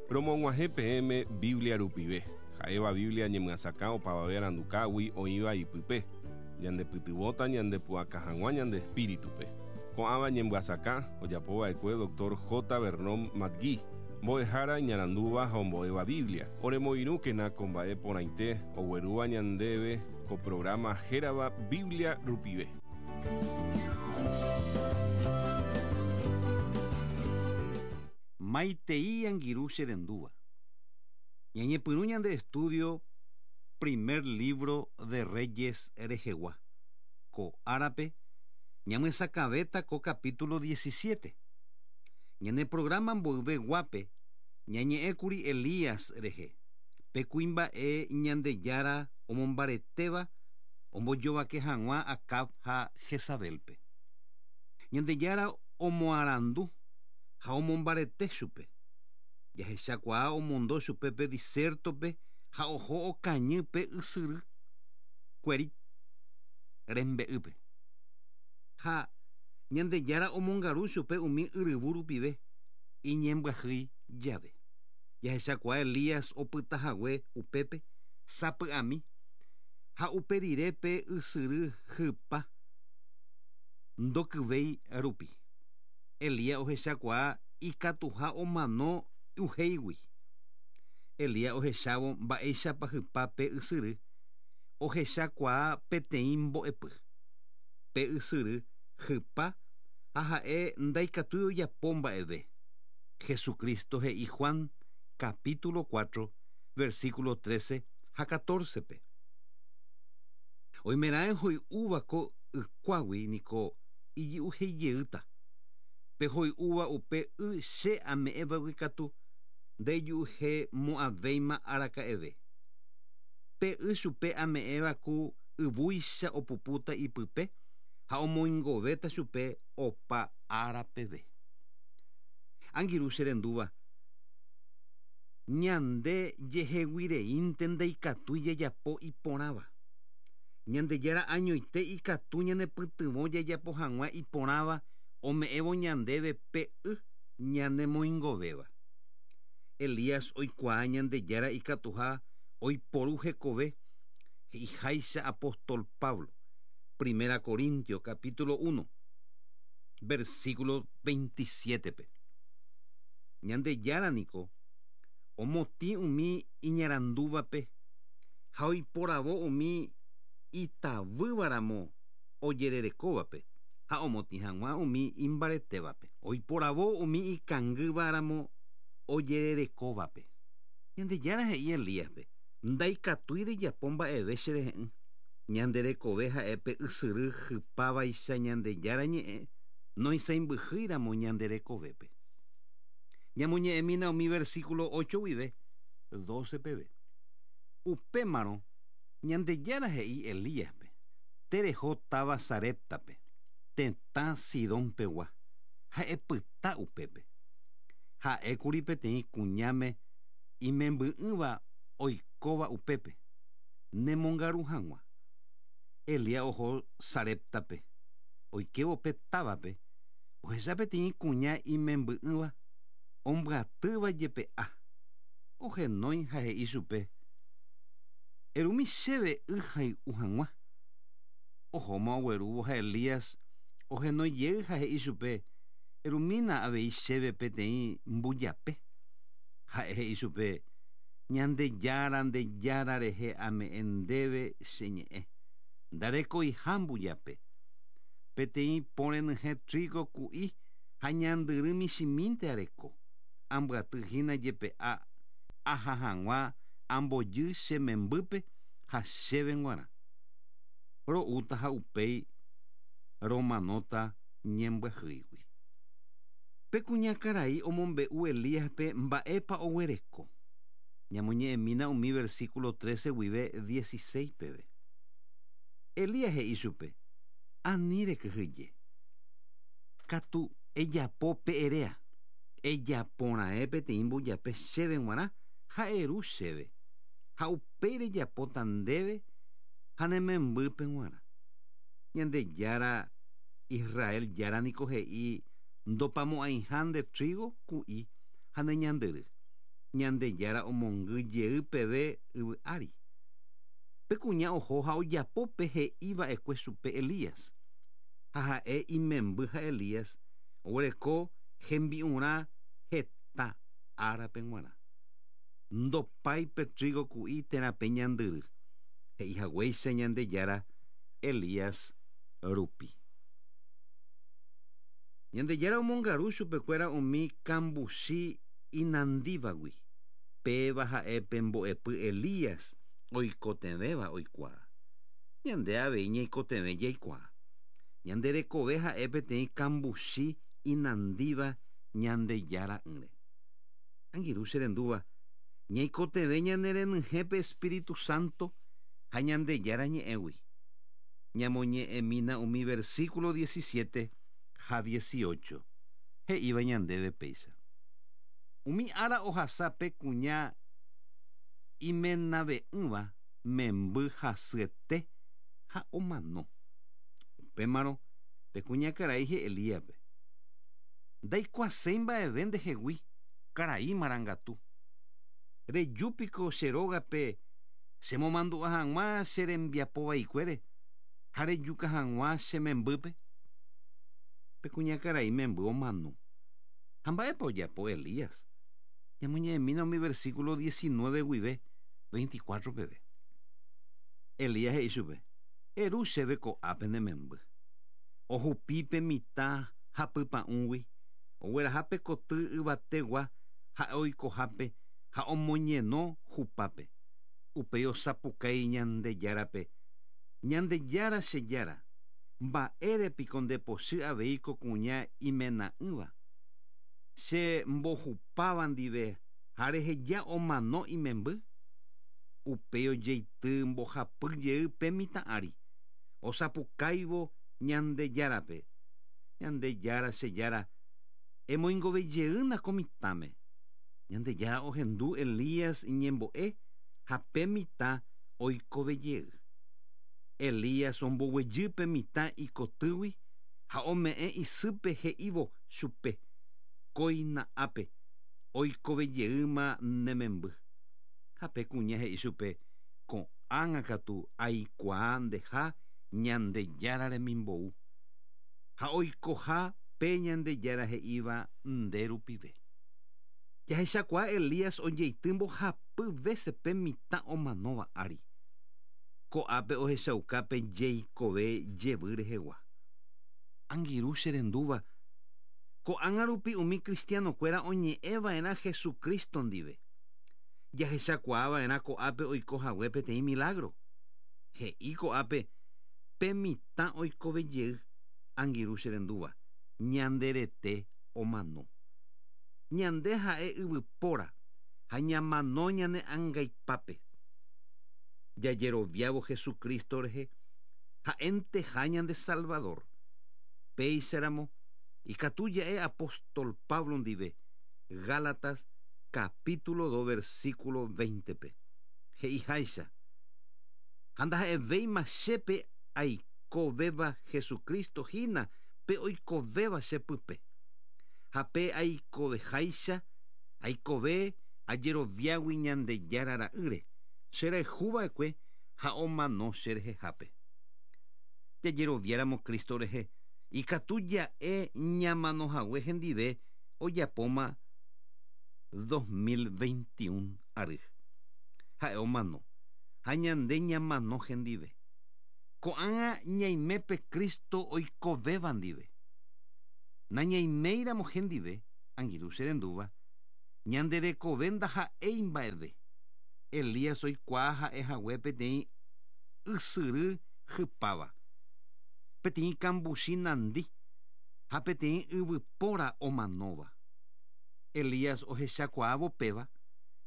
Romog̃uahẽ peẽme Biblia rupive, ha'éva Biblia ñemyasakã opavave arandukágui oĩva ipype, ñandepytyvõta ñandepu'aka hag̃ua ñande espíritupe. Ko'ãva ñemyasakã ojapova'ekue Dr. J. Vernon McGee, mbo'ehára iñarandúva ha ombo'éva Biblia. Oremoirũkena ko mba'e porãite oguerúva ñandéve ko programa hérava Biblia rupive. Maitei angirũ che rendúva. Ñañepyrũ ñande estudio Primer libro de Reyes rehegua. Ko árape ñamyesakãvéta ko capítulo 17. Ñane programa mboyve guápe ñañe'ẽkuri Elías rehe, pe kuimba'e Ñandejára omombaretéva ombojovake hag̃ua Acab ha Jezabélpe. Ñandejára omoarandu ha omombarete chupe. Jahechakuaa omondo chupe pe disértope ha oho okañy pe ysyry Querit rembe'ýpe. Ha Ñandejára omongaru chupe umi yryvu rupive iñembyahýi jave. Jahechakuaa Elías opyta hague upépe sapy'ami ha upe rire pe ysyry hypa ndokyvéi rupi. Elías ohechakuaa ikatuha omano y'uhéigui. Elías ohechávo mba'éichapa hypa pe ysyry, ohechakuaa peteĩ mbo'epy. Pe ysyry hypa ha ha'e ndaikatúi ojapo mba'eve. Jesucristo he'i Juan capítulo 4, versículo 13 ha 14-pe. Oimeraẽ hoy'úva ko ykuágui niko ijy'uheijeýta. Pe hoy'úva upe y che ame'ẽvagui katu ndaiju'uhemo'ãvéima araka'eve. Pe y chupe ame'ẽva ku yvúicha opupúta ipype ha omoingovéta chupe opa ára peve. Angirũ che rendúva, ñande jeheguireínte ndaikatúi jajapo iporãva. Ñandejára añoite ikatu ñanepytyvõ jajapo hag̃ua iporãva ome'ẽvo ñandéve pe y ñanemoingovéva. Elías oikuaa Ñandejára ikatuha oiporu hekove he'iháicha apóstol Pablo, Primera Corintios capítulo 1, versículo 27-pe. Ñandejára niko omotĩ umi iñarandúvape ha oiporavo umi itavývaramo ojererekóvape ha omotĩ hag̃ua umi imbaretévape. Oiporavo umi ikangývaramo ojererekóvape. Ñandejára he'i Elíaspe, Ndaikatúi rejapo mba'eve cherehe'ỹ. Ñande rekove ha'e pe ysyry hypávaicha Ñandejára ñe'ẽ noisãimbyhýiramo ñande rekovépe. Ñamoñe'ẽmína umi versículo 8 guive 12 peve. Upémarõ Ñandejára he'i Elíaspe, Tereho táva Saréptape, tetã Sidón pegua, ha epyta upépe. Ha'ékuri peteĩ kuñáme imemby'ỹva oikóva upépe, nemongaru hag̃ua. Elías oho Saréptape. Oikévo pe távape, ohecha peteĩ kuña imemby'ỹva ombyatýva jepe'a. Ohenói ha he'i chupe, Erumi chéve y hay'u hag̃ua. Ohóma oguerúvo ha Elías ohenói jey ha he'i chupe, Erumína avei chéve peteĩ mbujape. Ha'e he'i chupe, Ñandejára nde Jára rehe ame'ẽ ndéve che ñe'ẽ, ndarekoiha mbujape. Peteĩ po renyhẽ trígo ku'i ha ñandyry michĩmínte areko, ambyaty hína jepe'a aha hag̃ua ambojy che membýpe ha chéve g̃uarã. Ro'úta ha upéi romanóta ñembyahýigui. Pe kuñakarai omombe'u Elíaspe mba'épa oguereko. Ñamoñe'ẽmína umi versículo 13 guive 16 peve. Elías he'i chupe, Ani rekyhyje. Katu ejapo pe eréa. Ejapo raẽ peteĩ mbujape chéve g̃uarã ha eru chéve, ha upéi rejapóta ndéve ha ne membýpe g̃uarã. Ñandejára Israel Jára niko he'i ndopamo'ãiha nde trígo ku'i ha ne ñandyry. Ñandejára omongy jey peve yvy ári. Pe kuña oho ha ojapo pe he'iva'ekue chupe Elías. Ha ha'e imemby ha Elías oguereko hembi'urã heta árape g̃uarã. Ndopái pe trigo ku'i térã pe ñandyry. He'ihaguéicha Ñandejára Elías rupi. Ñandejára omongaru chupekuéra umi kambuchi inandívagui. Péva ha'e pe mbo'epy Elías oikotevẽva oikuaa. Ñande avei ñaikotevẽ jaikuaa. Ñande rekove ha'e peteĩ kambuchi inandíva Ñandejára'ỹre. Angirũ cherendúva, ñaikotevẽ ñanerenyhẽ pe Espíritu Santo ha Ñandejára ñe'ẽgui. Ñamoñe'ẽmína umi versículo 17 ha 18. He'íva ñandéve péicha. Umi ára ohasa pe kuña imenave'ỹva memby hasyete ha omano. Upémarõ pe kuñakarai he'i Elíaspe: Ndaikuaaséi mba'eve ndehegui, karai marangatu. Rejúpiko che rógape chemomandu'a hag̃ua che rembiapovaikuére ha rejuka hag̃ua che membýpe? Pe kuñakarai memby omano. Ha mba'épa ojapo Elías? Ñamoñe'ẽmína umi versículo 19 guive 24 peve. Elías he'i chupe: Eru chéve ko'ápe ne memby. Ohupi pe mitã hapypa'ũgui, ogueraha pe koty yvategua ha'e oikohápe ha omoñeno hupápe. Upéi osapukái Ñandejárape: Ñandejára che Jára, mba'érepiko ndepochy avei ko kuña imena'ỹva, che mbohupáva ndive ha reheja omano imemby? Upéi ojeity mbohapy jey pe mitã ári, osapukáivo Ñandejárape: Ñandejára che Jára, emoingovejeýna ko mitãme. Ñandejára ohendu Elías iñembo'e ha pe mitã oikovejey. Elías omboguejy pe mitã ikotýgui ha ome'ẽ isýpe he'ívo chupe: Kóina ápe, oikovejeýma ne memby. Ha pe kuña he'i chupe: Ko'ág̃a katu aikuaa ndeha Ñandejára remimbou, ha oikoha pe Ñandejára he'íva nde rupive. Jahechakuaa Elías ojeity mbohapy vése pe mitã omanóva ári. Ko'ápe ohechauka pe jeikove jevy rehegua. Angirũ cherendúva, ko'ág̃a rupi umi cristiano-kuéra oñe'ẽva'erã Jesucristo ndive. Jahechakuaava'erã ko'ápe oiko hague peteĩ milagro. He'i ko'ápe pe mitã oikovejey, angirũ cherendúva, ñande rete omano. Ñande ha'e yvypóra ha ñamano ñane angaipápe. Jajeroviávo Jesucristo rehe ha'enteha ñande Salvador. Péicharamo ikatu ja'e apóstol Pablo ndive Gálatas capítulo 2 versículo 20-pe. He'iháicha: Ha ndaha'evéima chépe aikovéva Jesucristo hína pe oikovéva chepype. Ha pe aikoveháicha, aikove ajeroviágui Ñandejára ra'ýre, cherayhuva'ekue ha omano cherehehápe. Jajeroviáramo Cristo rehe, ikatu ja'e ñamanohague hendive ojapóma 2021 ary. Ha'e omano, ha ñande ñamano hendive. Ko'ág̃a ñaime pe Cristo oikovéva ndive. Nañaiméiramo hendive, angirũ cherendúva, ñande rekove ndaha'éi mba'eve. Elías oikuaa ha'ehague peteĩ ysyry hypáva, peteĩ kambuchi nandi ha peteĩ yvypóra omanóva. Elías ohechakuaávo péva,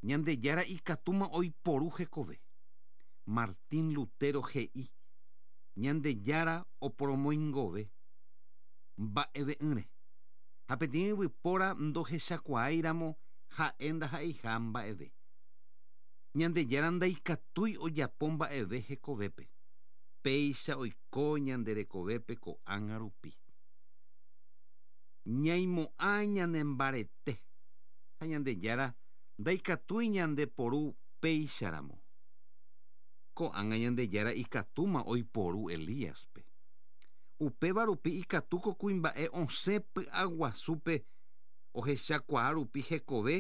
Ñandejára ikatúma oiporu hekove. Martín Lutero he'i: Ñandejára oporomoingove mba'eve'ỹre. Ha peteĩ yvypóra ndohechakuaáiramo ha'e ndaha'eiha mba'eve. Ñandejára ndaikatúi ojapo mba'eve hekovépe. Péicha oiko ñande rekovépe ko'ág̃a rupi. Ñaimo'ã ñanembarete ha Ñandejára Ndaikatúi ñandeporu péicharamo. Ko'ág̃a Ñandejára ikatúma oiporu Elíaspe. Upéva rupi ikatu ko kuimba'e osẽ py'aguasúpe ohechakuaa rupi hekove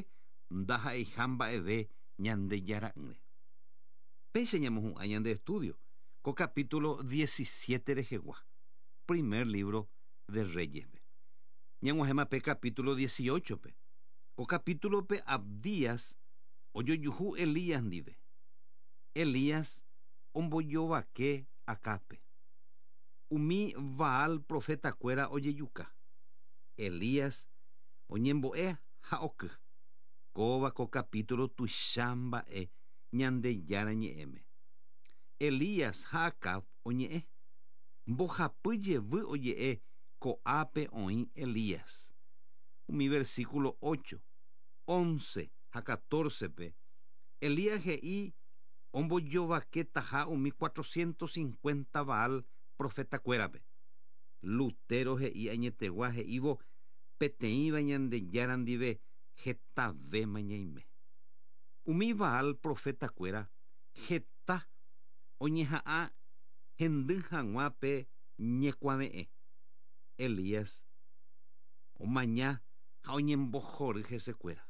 ndaha'eiha mba'eve Ñandejara'ỹre. Péicha ñamohu'ã ñande estudio ko capítulo 17 rehegua, primer libro de Reyes-pe. Ñag̃uahẽma pe capítulo 18-pe. Ko capítulo-pe Abdías ojojuhu Elías ndive. Elías ombojovake Acábpe. Umi Baal profetakuéra ojejuka. Elías oñembo'e ha oky. Kóva ko capítulo tuicha mba'e Ñandejára Ñe'ẽme. Elías ha Acab oñe'ẽ. Mbohapy jevy oje'e ko'ápe oĩ Elías. Umi versículo 8, 11 ha 14-pe, Elías he'i ombojovaketaha umi 450 Baal profetakuérape. Lutero he'i añetegua he'ívo peteĩva Ñandejára ndive hetavéma ñaime. Umi Baal profetakuéra heta oñeha'ã hendy hag̃ua pe ñekuave'ẽ. Elías omaña ha oñembohory hesekuéra.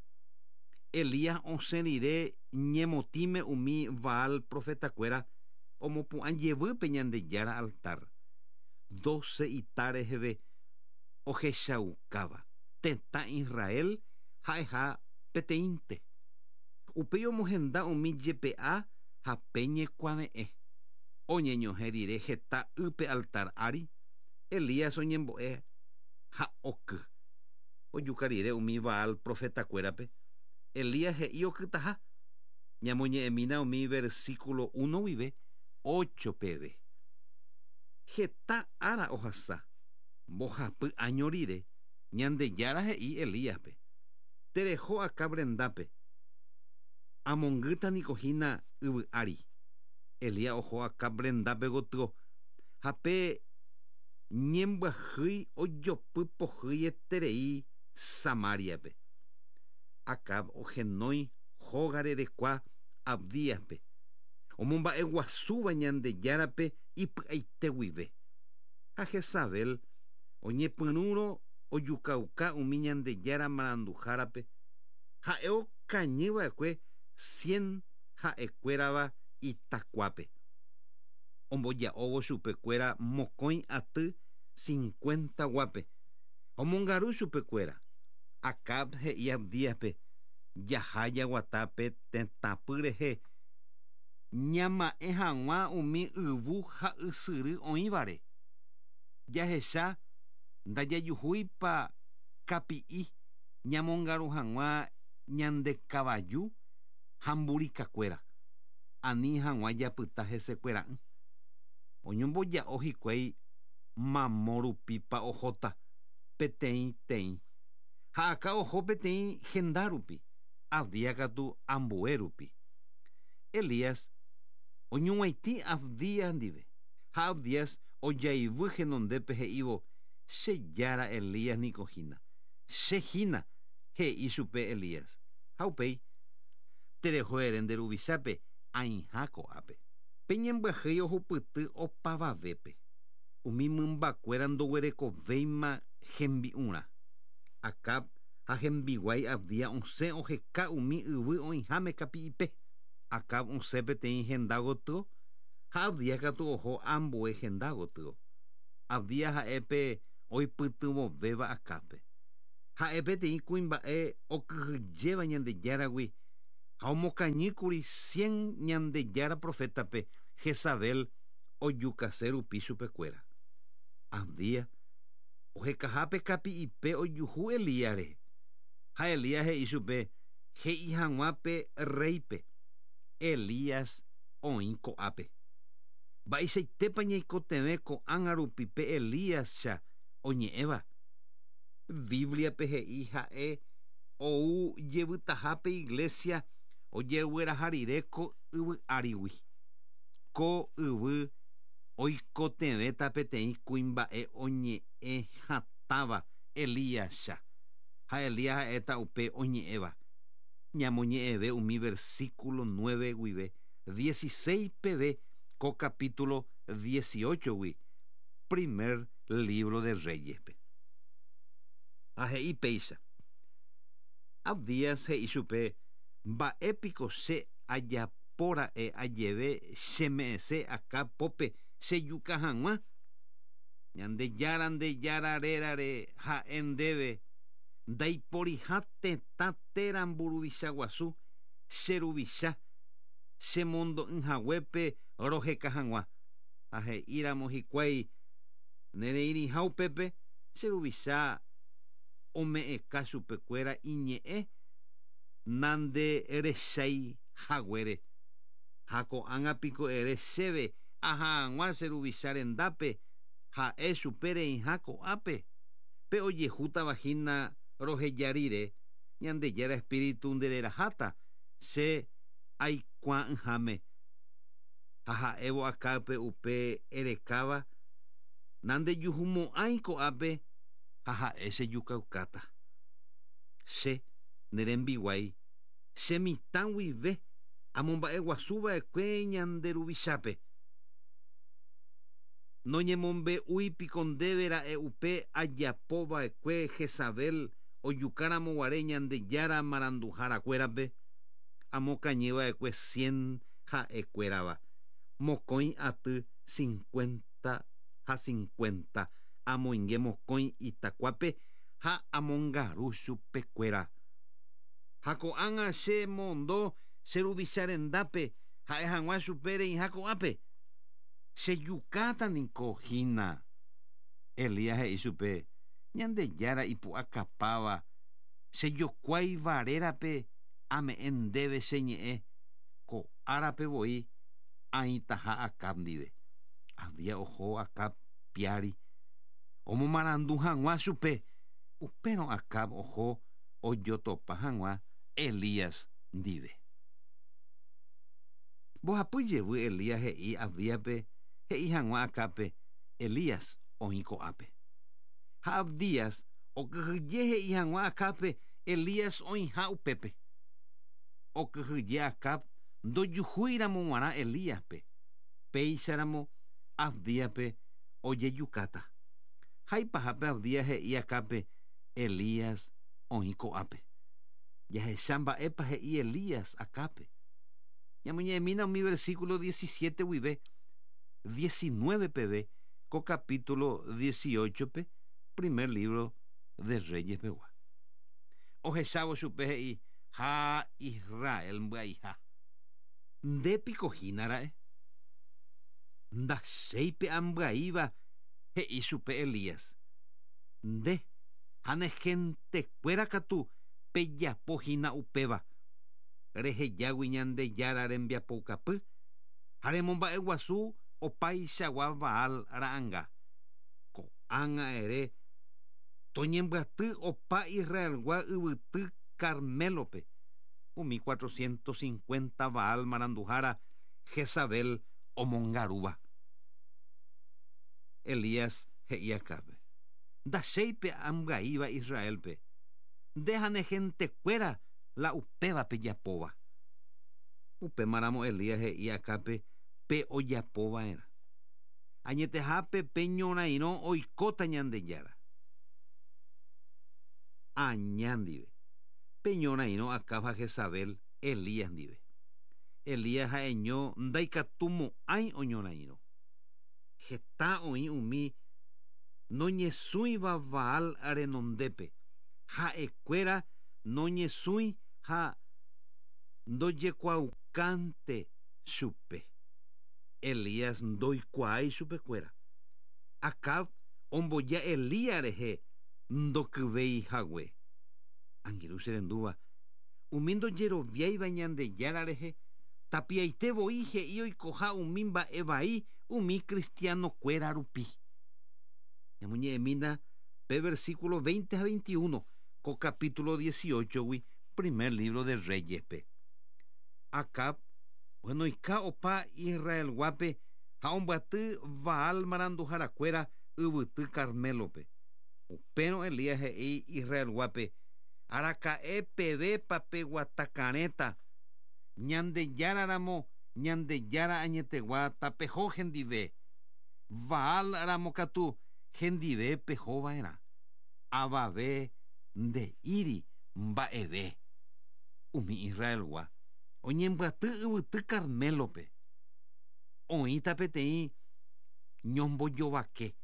Elías osẽ rire ñemotĩme umi Baal profetakuéra omopu'ã jevy pe Ñandejára altar, 12 ita reheve ohechaukáva tetã Israel ha'eha peteĩnte. Upéi omohenda umi jepe'a ha pe ñekuave'ẽ. Oñeñohẽ rire heta y pe altar ári, Elías oñembo'e ha oky. Ojuka rire umi Baal profetakuérape, Elías he'i okytaha. Ñamoñe'ẽmína umi versículo 1 guive 8 peve. Heta ára ohasa, mbohapy áño rire, Ñandejára he'i Elíaspe, Tereho Acab rendápe, amongýta niko hína yvy ári. Elías oho Acab rendápe gotyo, ha pe ñembyahýi ojopy pohýieterei Samáriape. Acab ohenói hóga rerekua Abdíaspe, omomba'eguasúva Ñandejárape ipy'aite guive. Ha Jezabel oñepyrũrõ ojukauka umi Ñandejára maranduhárape, ha'e okañy va'ekue cien ha'ekuérava itakuápe. Omboja'óvo chupekuéra mokõi aty cincuenta guápe, ha omongaru chupekuéra. Acab he'i Abdíaspe, Jaha jaguata pe tetãpy rehe ñama'ẽ hag̃ua umi yvu ha ysyry oĩvare. Jahecha ndajajuhúipa kapi'i ñamongaru hag̃ua ñande kavaju ha mburikakuéra, ani hag̃ua japyta hesekuera'ỹ. Oñomboja'o hikuái mamo rupípa ohóta peteĩ-teĩ. Ha Acab oho peteĩ henda rupi, Abdías katu ambue rupi. Elías oñug̃uaitĩ Abdías ndive, ha Abdías ojaivy henondépe he'ívo, Che jára Elías niko hína. Che hína, he'i chupe Elías. Ha upéi, Tereho ere nde ruvichápe aĩha ko'ápe. Pe ñembyahýi ohupyty opavavépe. Umi mymbakuéra ndoguerekovéima hembi'urã. Acab ha hembiguái Abdías osẽ oheka umi yvy oĩháme kapi'ipe. Acab osẽ peteĩ henda gotyo ha Abdías katu oho ambue henda gotyo. Abdías ha'e pe oipytyvõvéva Acábpe. Ha'e peteĩ kuimba'e okyhyjéva Ñandejáragui ha omokañýkuri cien Ñandejára profétape Jezabel ojukase rupi chupekuéra. Abdías ohekahápe kapi'ipe ojuhu Elías rehe. Ha Elías he'i chupe he'i hag̃ua pe rréipe, Elías oĩ ko'ápe. Mba'eichaitépa ñaikotevẽ ko'ág̃a rupi pe Elías-cha oñe'ẽva? Bíbliape he'i ha'e ou jevytaha pe iglésia ojegueraha rire ko yvy árigui. Ko yvy oikotevẽta peteĩ kuimba'e oñe'ẽ hatãva Elías-cha, ha Elías ha'éta upe oñe'ẽva. Ñamoñe'ẽve umi versículo 9 guive 16 peve ko capítulo 18-gui primer libro de Reyes-pe. Ha he'i péicha. Abdías he'i chupe, Mba'épiko che ajapóra'e ajeve cheme'ẽse Acab pópe chejuka hag̃ua? Ñandejára nde Jára rérare ha'e ndéve, ndaiporiha tetã térã mburuvicha guasu che ruvicha chemondo'ỹ haguépe roheka hag̃ua. Ha he'íramo hikuái nereirĩha upépe, che ruvicha ome'ẽka chupekuéra iñe'ẽ nanderechái haguére. Ha ko'ág̃a piko ere chéve aha hag̃ua che ruvicha rendápe ha'e chupe reĩha ko'ápe? Pe ojehútava hína roheja rire, Ñandejára Espíritu ndereraháta che aikuaa'ỹháme. Ha ha'évo Acábpe upe erekáva, nandejuhumo'ãi ko'ápe ha ha'e chejukaukáta. Che, ne rembiguái, che mitã guive amomba'eguasu va'ekue ñande Ruvichápe. Noñemombe'úi piko ndéve ra'e upe ajapo va'ekue Jezabel ojuka ramo guare Ñandejára maranduhára kuérape? Amokañy va'ekue cien ha'e kuérava, mokõi aty cincuenta ha cincuenta, amoinge mokõi itakuápe ha amongaru chupe kuéra. Ha ko'ág̃a che mondo che ruvicha rendápe ha'e hag̃ua chupe reĩha ko'ápe. Chejukáta niko hína. Elías he'i chupe, Ñandejára ipu'akapáva, chejokuáiva rérape ame'ẽ ndéve che ñe'ẽ, ko árape voi aĩtaha Acab ndive. Abdías oho Acab piári omomarandu hag̃ua chupe. Upérõ Acab oho ojotopa hag̃ua Elías ndive. Mbohapy jevy Elías he'i Abdíaspe he'i hag̃ua Acábpe, Elías oĩ ko'ápe. Ha Abdías okyhyje he'i hag̃ua Acábpe Elías oĩha upépe. Okyhyje Acab ndojuhúiramo g̃uarã Elíaspe, péicharamo Abdíaspe ojejukáta. Ha ipahápe Abdías he'i Acábpe, Elías oĩ ko'ápe. Jahecha mba'épa he'i Elías Acábpe. Ñamoñe'ẽmína umi versículo 17 guive 19 peve ko capítulo 18-pe primer libro de Reyes pegua. Ohechávo chupe he'i, Ha Israel mbyaiha. Nde piko hína ra'e? Ndachéi pe ambyaíva, he'i chupe Elías. Nde ha ne gentekuéra katu pejapo hína upéva. Rehejágui Ñandejára rembiapoukapy ha remomba'eguasu opaichagua Baal ra'anga. Ko'ág̃a ere toñembyaty opa Israelgua yvyty Carmélope, umi 450 Baal maranduhára Jezabel omongarúva. Elías he'i Acábpe, Ndachéi pe ambyaíva Israélpe, nde ha ne gentekuéra la upéva pejapóva. Upémaramo Elías he'i Acábpe pe ojapo va'erã. Añetehápe pe ñorairõ oikóta Ñandejára. Aña ndive. Pe ñorairõ Acab ha Jezabel Elías ndive. Elías ha'eño ndaikatumo'ãi oñorairõ. Heta oĩ umi noñesũiva Baal renondépe, ha'ekuéra noñesũi ha ndojekuaaukánte chupe. Elías ndoikuaái chupekuéra. Acab omboja Elías rehe ndokyvéi hague. Angirũ che rendúva, umi ndojeroviáiva Ñandejára rehe tapiaite voi he'i oikoha umi mba'e vai umi cristiano-kuéra rupi. Ñamoñe'ẽmína pe versículo 20 ha 21 ko capítulo 18-gui primer libro de Reyes-pe. Acab ohenoika opa Israelguápe ha ombyaty Baal maranduharakuéra yvyty Carmélope. Upérõ Elías he'i Israelguápe, Araka'e pevépa peguatakarẽta, Ñandejára ramo, Ñandejára añetegua tapeho hendive, Baal ramo katu hendive peho va'erã. Avave nde'íri mba'eve. Umi Israelgua oñembyaty yvyty Carmélope. Oĩta peteĩ ñombojovake.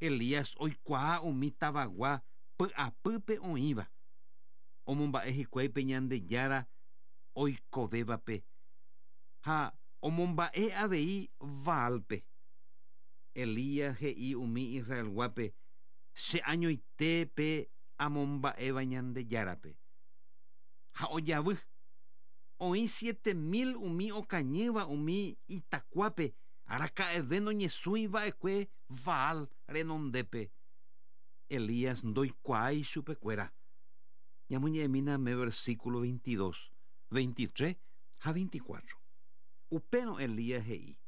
Elías oikuaa umi tavagua py'apýpe oĩva. Omomba'e hikuái pe Ñandejára oikovévape ha omomba'e avei Baálpe. Elías he'i umi Israelguápe, Che añoite pe amomba'éva Ñandejárape. Ha ojavy. Oĩ 7000 umi okañýva umi itakuápe araka'eve noñesũi va'ekue Baal renondépe. Elías ndoikuaái chupekuéra. Ñamoñe'ẽmína me versículo 22, 23 ha 24. Upérõ Elías he'i,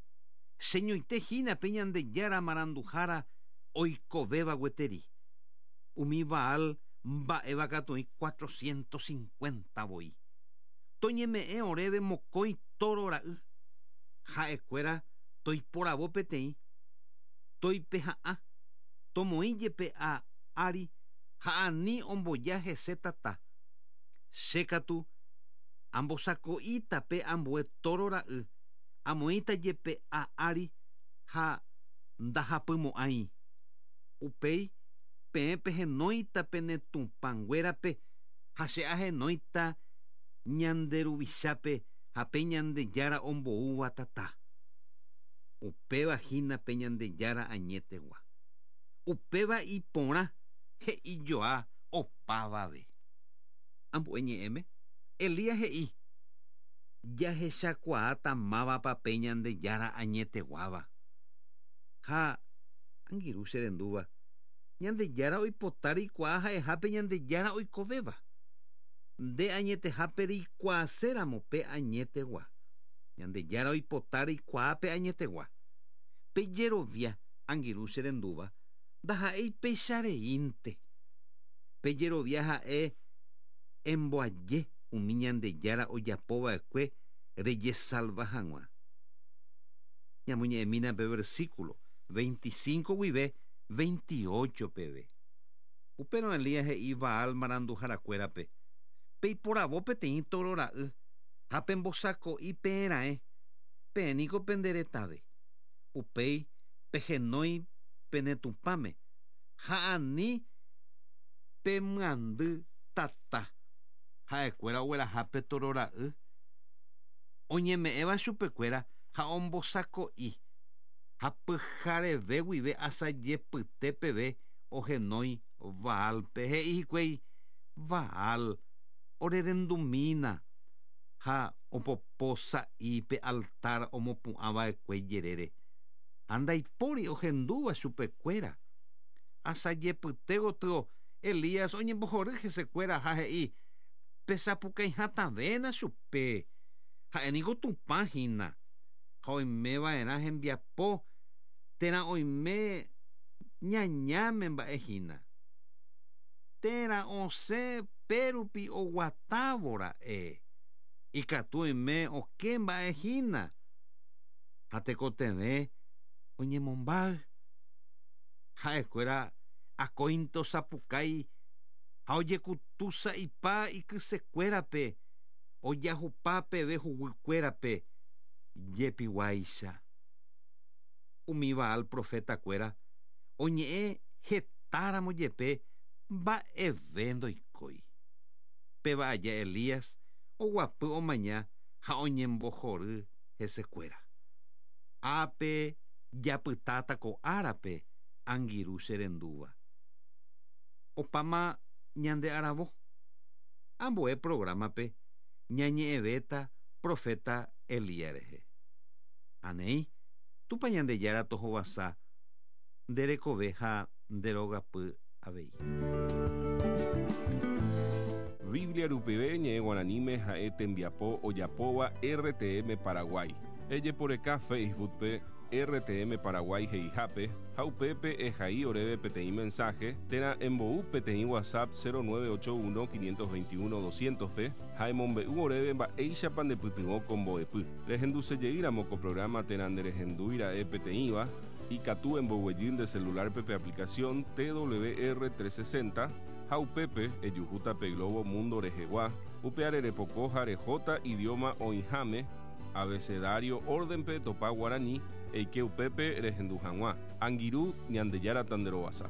Cheñoite hína pe Ñandejára maranduhára oikovéva gueteri. Umi Baal mba'éva katu oĩ 450 voi. Toñeme'ẽ oréve mokõi tóro ra'y, ha'ekuéra toiporavo peteĩ, toipeha'ã, tomoĩ jepe a ári ha ani omboja hese tata. Che katu ambosako'íta pe ambue tóro ra'y, amoĩta jepe a ári ha ndahapymo'ãi. Upéi peẽ pehenóita pene tupãnguérape ha che ahenóita ñande Ruvichápe ha pe Ñandejára omboúva tata. Upéva hína pe Ñandejára añetegua. Upéva iporã he'i joa opavave. Ambue ñe'ẽme, Elías he'i, Jahechakuaáta mávapa pe Ñandejára añeteguáva. Ha, angirũ che rendúva, Ñandejára oipota reikuaa ha'eha pe Ñandejára oikovéva. Nde añetehápe reikuaaséramo pe añetegua. Ñandejára oipota reikuaa pe añetegua. Pe jerovia, angirũ che rendúva, ndaha'éi péicha reínte. Pe jerovia ha'e emboaje umi Ñandejára ojapo va'ekue rejesalva hag̃ua. Ñamoñe'ẽmína pe versículo 25 guive 28 peve. Upérõ Elías he'i Baal maranduharakuérape, Peiporavo peteĩ tóro ra'y ha pembosako'i peẽ raẽ, peẽ niko pende retave. Upéi pehenói pene Tupãme ha ani pemyandy tata. Ha'ekuéra ogueraha pe tóro ra'y oñeme'ẽva chupekuéra ha ombosako'i, ha pyhareve guive asajepyte peve ohenói Baálpe. He'i hikuái, Baal, orerendumína! Ha opopo sa'i pe altár omopu'ã va'ekue jerére. Ha ndaipóri ohendúva chupekuéra. Asajepyte gotyo Elías oñembohory hesekuéra ha he'i, Pesapukái hatãvéna chupe, ha'e niko Tupã hína, ha oime va'erã hembiapo térã oime ñañáme mba'e hína. Térã osẽ pérupi oguatávo ra'e, ikatu oime oke mba'e hína, ha tekotevẽ oñemombáy. Ha'ekuéra akóinte osapukái ha ojekutu sa'ipa ikysekuérape ojahupa peve huguykuérape jepiguáicha. Umi Baal profetakuéra oñe'ẽ hetáramo jepe mba'eve ndoikói. Péva aja Elías oguapy omaña ha oñembohory hesekuéra. Ápe japytáta ko árape angirũ che rendúva. Opáma ñande aravo. Ambue programa-pe ñañe'ẽvéta profeta Elías rehe. Ha néi, Tupã Ñandejára tohovasa nde rekove ha nde rogapy avei. Biblia rupive ñe'ẽ guaraníme ha'e tembiapo ojapóva RTM Paraguay. Ejeporeka Facebook-pe. RTM Paraguay he'ihápe ha upépe ehai oréve peteĩ mensaje térã embou peteĩ WhatsApp 0981 521 200-pe ha emombe'u oréve mba'éichapa ndepytyvõ ko mbo'epy. Rehendusejeýramo ko programa térã nderehendúira'e peteĩva, ikatu emboguejy nde celular-pe pe aplicación TWR 360 ha upépe ejuhúta pe globo mundo rehegua, upeare repoko ha rehóta idioma oĩháme, abecedario orden-pe topa guarani, eike upépe rehendu hag̃ua. Angirũ, Ñandejára tanderovasa.